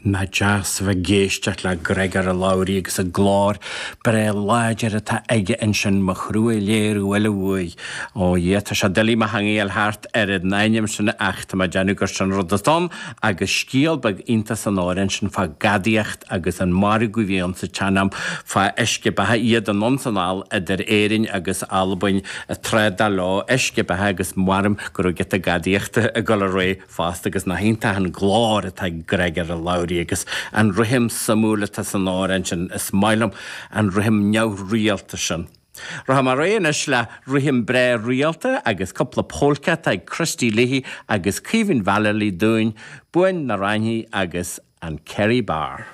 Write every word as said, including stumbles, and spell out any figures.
Nach deas a bheith ag éisteacht le Griogair Labhruidh agus an glór breá láidir atá aige ansin, mo thrua léir uile uaidh. Ó Dhia, tá sé doiligh mo theanga a fháil thart ar an ainm sin ach tá mé ag déanamh gur sin rud atá ann agus scéal beag iontach san amhrán sin fá gadaíocht agus an margadh a bhí ann sa tsean-am fá uisce beatha, iad anonn 's anall idir Éirinn agus Albain ag trádáil leo uisce beatha agus measaim go raibh giota gadaíochta ag dul ar aghaidh fosta agus nach iontach an glór atá ag Griogair Labhruidh agus an rithim suimiúil atá san amhrán sin, is maith liom an rithim neamhrialta sin. Rachaidh mé ar aghaidh anois le rithim breá rialta agus cúpla polca atá ag Christy Leahy agus Caoimhín Vallely dúinn, Buan na Raithní agus an Kerry Bar.